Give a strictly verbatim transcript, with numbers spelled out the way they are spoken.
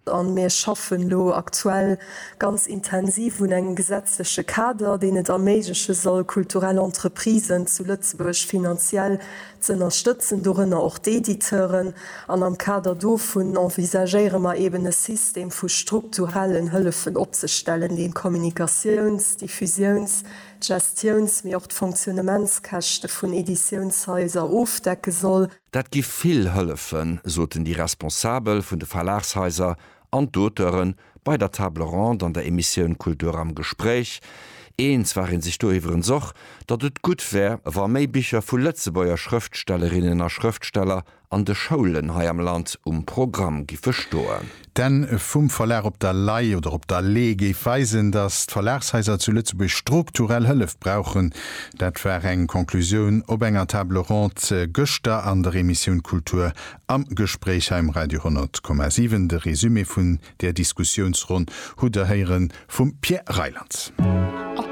An mir schaffen elo aktuell ganz intensiv un engem gesetzleche Kader, deen et erméigleche soll, kulturell Entreprisen zu Lëtzebuerg finanziell z'ënnerstëtzen, dorënner och d'Editeuren. An am Kader dovun envisagéiere mer eben e System vu strukturellen Hëllefen opzestellen, deen d'Kommunikatiouns-, d'Diffusiouns-, d'Gestiouns-, mee och d'Fonctionnementskäschte vun Editiounshaiser ofdecke soll. Dat gi vill hëllefen, soten déi Responsabel vun de Verlagshaiser an d'Auteuren bei der Table ronde an der Emissioun Kultur am Gespréich. Eens war een sech do iwwerens och, datt et gutt wär, wa méi Bicher vu Lëtzebuerger Schrëftstellerinnen a Schrëftsteller an de Schoulen hei am Land um Programm giffe stoen. D'Enn vum Verlag op der Lay oder op der Lee géif weisen, datt d'Verlagshaiser zu Lëtzebuerg strukturell Hëllef brauchen. Dat war eng Conclusioun op enger Table ronde gëschter an der Emissioun Kultur am Gespréich hei um Radio honnert Komma siwen. De Resumé vun där Diskussiounsronn hutt der héiere vum Pierre Reyland.